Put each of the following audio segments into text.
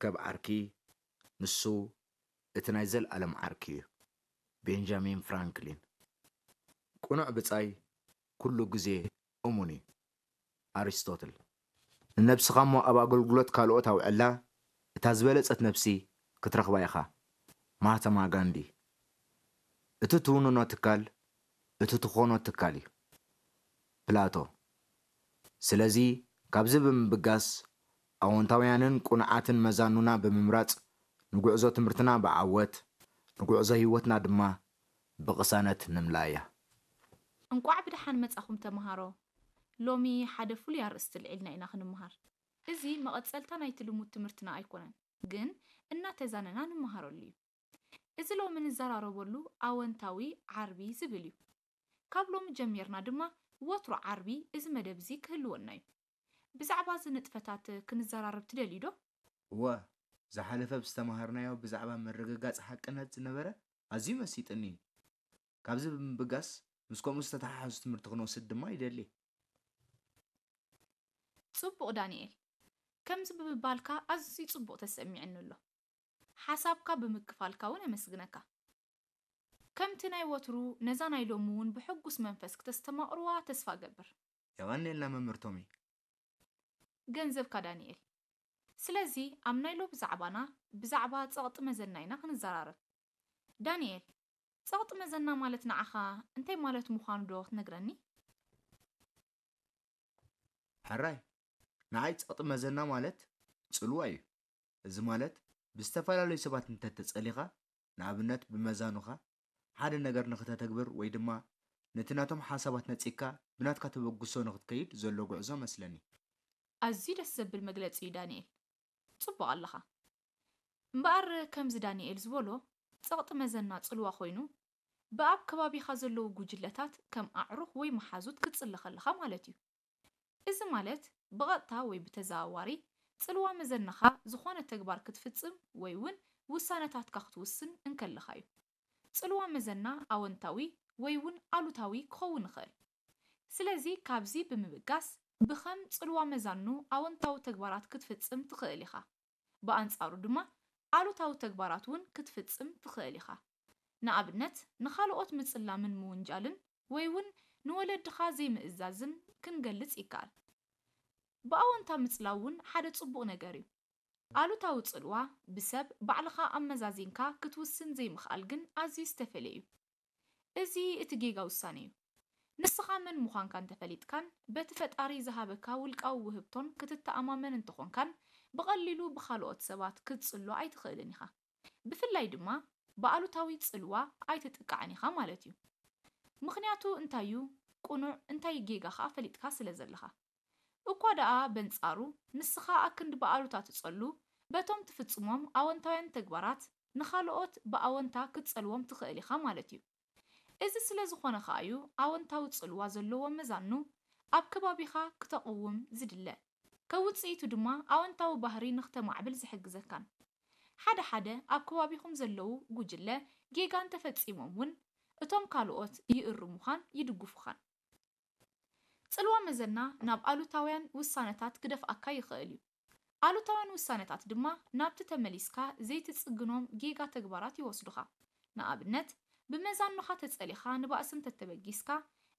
ከብ ዓርኪ፣ ንሱ እቲ ናይ ዘልኣለም ዓርኪ እዩ። ቤንጃሚን ፍራንክሊን። ቅኑዕ ብጻይ ኩሉ ግዜ እሙን እዩ። ኣሪስቶትል። ንነብስኻ እሞ ኣብ ኣገልግሎት ካልኦት ኣውዕላ፣ እታ ዝበለጸት ነብሲ ክትረኽባ ኢኻ። ማህተማ ጋንዲ። እቲ ትውንኖ ትካል፣ እቲ ትኾኖ ትካል እዩ። ፕላቶ። ስለዚ፣ ካብዚ ብምብጋስ፣ ኣወንታውያንን ቅኑዓትን መዛኑና ብምምራጽ፣ ንጉዕዞ ትምህርትና ብዓወት፣ ንጉዕዞ ህይወትና ድማ ብቕሳነት ንምልኣያ። እንቋዕ ብደሓን መጻኹም ተምሃሮ። ሎሚ ሓደ ፍሉይ ኣርእስቲ ኣልዒልና ኢና ክንምሃር። እዚ መቐጸልታ ናይቲ ልሙድ ትምህርትና ኣይኮነን፣ ግን እናተዛነና ንምሃረሉ እዩ። እዚ ሎሚ ንዘራረበሉ ኣወንታዊ ዓርቢ ዝብል እዩ። ካብ ሎሚ ጀሚርና ድማ ወትሩ ዓርቢ እዚ መደብ እዚ ክህልወና እዩ። ብዛዕባ እዚ ንጥፈታት ክንዘራረብ ትደልዩ ዶ? እወ፣ ዝሓለፈ ብዝተምሃርናዮ ብዛዕባ ምርግጋጽ ሓቅነት ዝነበረ ኣዝዩ መሲጥኒ እዩ። ካብዚ ብምብጋስ ምስ ከምኡ ዝተተሓሓዙ ትምህርቲ ክንወስድ ድማ ይደሊ። ጽቡቕ ዳንኤል፣ ከምዚ ብምባልካ ኣዝዩ ጽቡቕ ተሰሚዕኒ ኣሎ። ሓሳብካ ብምክፋልካ እውን ኣመስግነካ። ከምቲ ናይ ወትሩ ነዛ ናይ ሎሚ እውን ብሕጉስ መንፈስ ክተስተማቕርዋ ተስፋ እገብር። የቐንየልና መምህር ቶሚ። ገንዘብካ ዳንኤል። ስለዚ ኣብ ናይ ሎሚ ዛዕባና ብዛዕባ ጸቕጢ መዘና ኢና ክንዘራረብ። ዳንኤል፣ ጸቕጢ መዘና ማለት ንዓኻ እንታይ ማለት ምዃኑ ዶ ክትነግረኒ? ሕራይ፣ ንዓይ ጸቕጢ መዘና ማለት ጽልዋ እዩ። እዚ ማለት ብዝተፈላለዩ ሰባት እንተተጸሊኻ፣ ንኣብነት ብመዛኑኻ፣ ሓደ ነገር ንኽተተግብር ወይ ድማ ነቲ ናቶም ሓሳባት ነጺግካ ብናትካ ተበግሶ ንኽትከይድ ዘሎ ጉዕዞ መስለኒ። ኣዝዩ ደስ ዘብል መግለጺ እዩ ዳንኤል። ጽቡቕ ኣለኻ። እምበኣር ከምዚ ዳንኤል ዝበሎ ጸቕጢ መዘና ጽልዋ ኮይኑ ብኣብ ከባቢኻ ዘለዉ ጉጅለታት ከም ኣዕሩኽ ወይ መሓዙት ክትጽለ ከለኻ ማለት እዩ። እዚ ማለት ብቐጥታ ወይ ብተዘዋዋሪ ጽልዋ መዘናኻ ዝኾነ ተግባር ክትፍጽም ወይ እውን ውሳነታትካ ክትውስን እንከለኻ እዩ። ጽልዋ መዘና ኣወንታዊ ወይ እውን ኣሉታዊ ክኸውን ይኽእል። ስለዚ ካብዚ ብምብጋስ ብኸም ጽልዋ መዛኑ ኣወንታዊ ተግባራት ክትፍጽም ትኽእል ኢኻ። ብኣንጻሩ ድማ ኣሉታዊ ተግባራት እውን ክትፍጽም ትኽእል ኢኻ። ንኣብነት ንኻልኦት ምጽላምን ምውንጃልን ወይ እውን ንወለድኻ ዘይምእዛዝን ክንገልጽ ይከኣል። ብኣወንታ ምጽላው እውን ሓደ ጽቡቕ ነገር እዩ። ኣሉታዊ ጽልዋ ብሰብ ባዕልኻ ኣመዛዚንካ ክትውስን ዘይምኽኣል ግን ኣዝዩ ዝተፈልየ እዩ። እዚ እቲ ጌጋ ውሳነ እዩ። ንስኻ መን ምዃንካ እንተፈሊጥካን በቲ ፈጣሪ ዝሃበካ ውልቃዊ ውህብቶን ክትተኣማመን እንተኾንካን ብቐሊሉ ብኻልኦት ሰባት ክትጽሎ ኣይትኽእልን ኢኻ። ብፍላይ ድማ ብኣሉታዊ ጽልዋ ኣይትጥቃዕን ኢኻ ማለት እዩ። ምኽንያቱ እንታይ እዩ ቅኑዕ እንታይ ጌጋ ኸኣ ፈሊጥካ ስለ ዘለኻ። እኳ ደኣ በንጻሩ ንስኻ ኣክንዲ ብኣሉታ ትጸሉ በቶም ትፍጽሞም ኣወንታውያን ተግባራት ንኻልኦት ብኣወንታ ክትጸልዎም ትኽእል ኢኻ ማለት እዩ። እዚ ስለ ዝኾነ ኸኣ እዩ ኣወንታዊ ጽልዋ ዘለዎ መዛኑ ኣብ ከባቢኻ ክተቕውም ዝድለ። ከውጽኢቱ ድማ ኣወንታዊ ባህሪ ንኽተማዕብል ዝሕግዘካን። ሓደ ሓደ ኣብ ከባቢኹም ዘለዉ ጉጅለ ጌጋ እንተፈጺሞም እውን እቶም ካልኦት ይእርሙኻን ይድግፉኻን። ጽልዋ መዘና ናብ ኣሉታውያን ውሳነታት ክደፍኣካ ይኽእል እዩ። ኣሉታውያን ውሳነታት ድማ ናብቲ ተመሊስካ ዘይትጽግኖም ጌጋ ተግባራት ይወስዱኻ። ንኣብነት፣ ብመዛኑኻ ተጸሊኻ ንባእሲ እንተተበጊስካ፣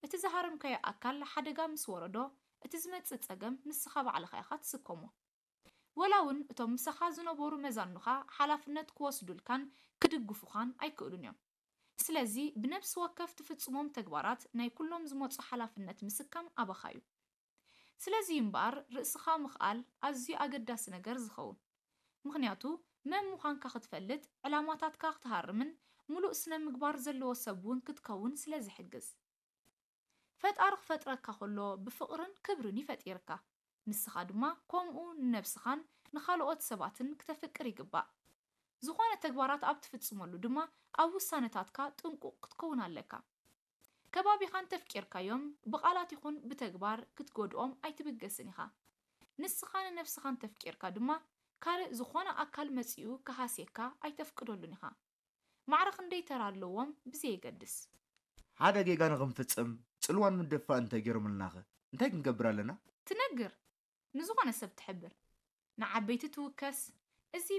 እቲ ዝሃረምካዮ ኣካል ሓደጋ ምስ ወረዶ፣ እቲ ዝመጽእ ጸገም ንስኻ ባዕልኻ ኢኻ ትስከሞ። ወላ እውን እቶም ምሳኻ ዝነበሩ መዛኑኻ ሓላፍነት ክወስዱልካን ክድግፉኻን ኣይክእሉን እዮም። ስለዚ ብነብሲ ወከፍ ትፍጽሞም ተግባራት ናይ ኩሎም ዝመጹ ሓላፍነት ምስካም ኣባኻ እዩ። ስለዚ እዩ እምበኣር ርእስኻ ምኽኣል ኣዝዩ ኣገዳሲ ነገር ዝኸውን። ምኽንያቱ መን ምዃንካ ክትፈልጥ፣ ዕላማታትካ ክትሃርምን ምሉእ ስነ ምግባር ዘለዎ ሰብ እውን ክትከውን ስለ ዝሕግዝ። ፈጣሪ ክፈጥረካ ከሎ ብፍቕርን ክብርን እዩ ፈጢርካ። ንስኻ ድማ ከምኡ ንነብስኻን ንኻልኦት ሰባትን ክተፍቅር ይግባእ። ዝኾነ ተግባራት ኣብ ትፍጽመሉ ድማ ኣብ ውሳነታትካ ጥንቁቕ ክትከውን ኣለካ። ከባቢኻ እንተፍቂርካዮም ብቓላት ይኹን ብተግባር ክትጎድኦም ኣይትብገስን ኢኻ። ንስኻ ንነብስኻ እንተፍቂርካ ድማ ካልእ ዝኾነ ኣካል መጺኡ ክሃስየካ ኣይተፍቅደሉን ኢኻ። ማዕረ ክንደይ ተራ ኣለዎም ብዘየገድስ። ሓደ ጌጋ ንኽንፍጽም ጽልዋን ምድፍፋእን እንተገይሮምልናኸ እንታይ ክንገብር ኣለና? ትነግር፣ ንዝኾነ ሰብ ትሕብር፣ ንዓበይቲ ትውከስ፣